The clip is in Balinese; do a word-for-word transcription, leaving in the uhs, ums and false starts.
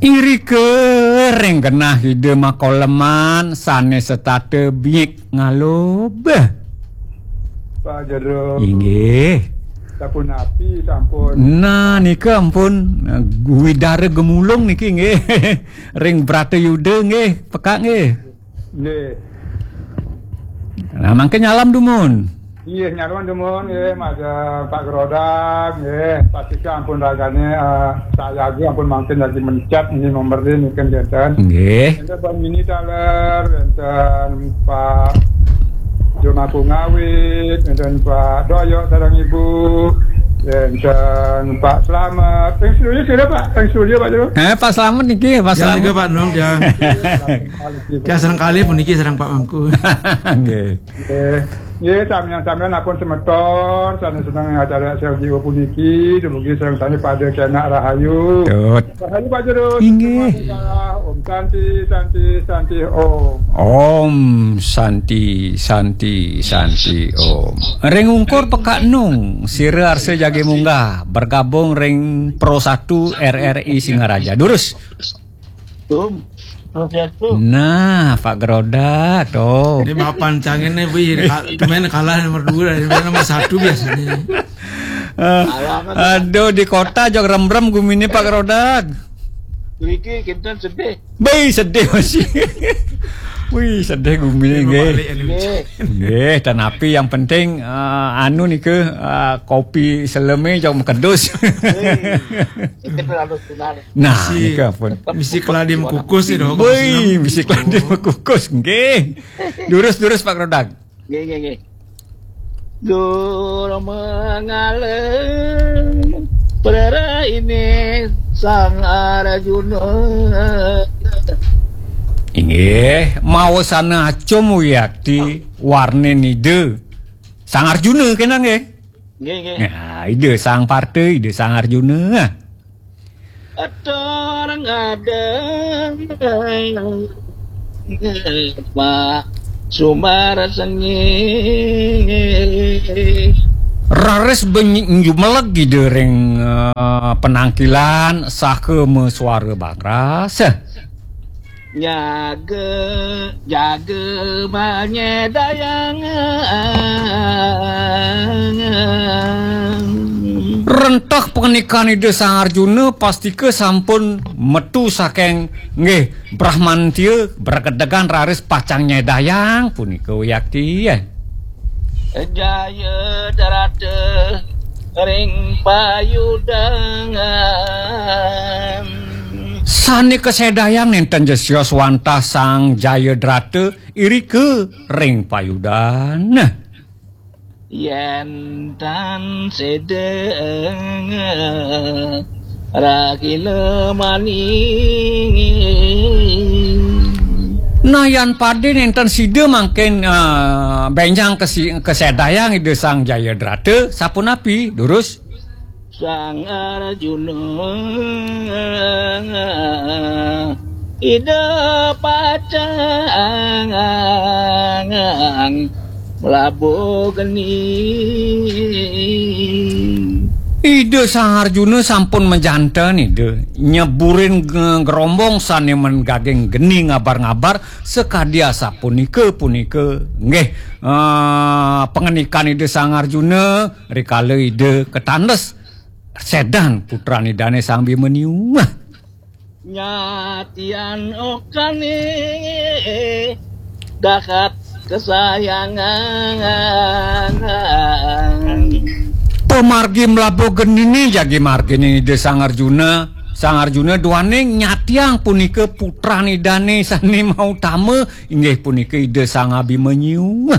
Irika ring genah Ida makoleman sane setata biik ngalub. Pak Jero. Inggih. Sapunapi sampun? Nah, nika ampun, eh, widara gemulung niki nggih. Ring Bratayuda nggih, pekak nggih. Nggih. Nah, mangke nyalam dumun. Iya, nyalam dumun nggih, Mas, eh, Pak Gerodak nggih. Pastika ampun ragane, eh, sayaga ampun mangkin lagi mencet ini nomor ini kan jantan. Nggih. Enten Bang Mini Taler, enten Pak Joma Pungawit, enten Pak Doyok sareng Ibu, enten Pak Slamet. Yang studio sira, Pak? Yang studio, Pak Jero? Eh, Pak Slamet niki, Pak Yang Slamet. Tiga, Pak Nong, ya. Ya, sareng kalih puniki sareng Pak Mangku. Nggih. Nggih. Nggih, samian-samian ampun semeton, sane seneng acara S L J O puniki, dumugi sareng sami pada kenak rahayu. Tut. Rahayu Pak Jero. Inggih. Om Santi, Santi, Santi, Om. Om Santi, Santi, Santi, Om. Ring ungkur pekak nung, sira arsa jagi munggah, bergabung ring Pro satu R R I Singaraja. Durus. Tum. Terus ya, Tum. Nah, Pak Gerodak, tuh. Ini mapan cangin nih, wih, ka-, kemarin kalah nomor dua, dari nomor satu biasanya. Eh, aduh, di kota jog remrem gumine Pak Gerodak. Mriki kinten sedih. Bei, sedih masih. Wih, sedih gumine nggih. Balik, anu. Nggih. Nggih, tanapi yang penting, eh, anu nika, eh, kopi seleme jog makedus. Nggih. Kita berlalu sunnah. Nah, misi, nika pun. Misi keladi mekukus nih, dong. Woi, misi keladi mekukus, nggih. Durus, durus, Pak Gerodak. Nggih, nggih, nggih. Dur mengalem perera ini Sang Arjuna. Inggih, maosana acum wiakti warne nida Sang Arjuna kena nggih. Nggih, nggih. Nah, Ida Sang Parta, Ida Sang Arjuna. Atur ngadeg Pak Sumar Sengih. Raris benyi-, jumeleg Ida ring, eh, penangkilan saha masuara bakras. Nyaga, jaga manyedayang. Rentah pangandikan Ida Sang Arjuna pastika sampun metu saking, nggih, Brahmantia, bragedegan raris pacang nyedayang punika wiakti. Jaya drata ring payudangan. Sane kasedayang nenten jesya swantah Sang Jayadrata irika ring payudan. Yen tan sedeng rakila mani. Nah, yan pade nenten sida mangkin, eh, benjang kesi-, kasedayang Ida Sang Jayadrata, sapunapi, durus? Sang Arjuna Ida pacang mlabuh geni. Ida Sang Arjuna sampun majanten, Ida, nyeburin ge-, gerombong sane mengaging geni ngabar-ngabar, sakadi asapunika punika, nggih, eh, pangandikan Ida Sang Arjuna rikala Ida katandes sedan putran Idane Sang Abimanyu. Nyatian okane dahat kesayangan. Pamargi mlabuh genine jagi margine Ida Sang Arjuna. Sang Arjuna duaning nyatiang punika putran Idane sane mautama, inggih punika Ida Sang Abimanyu.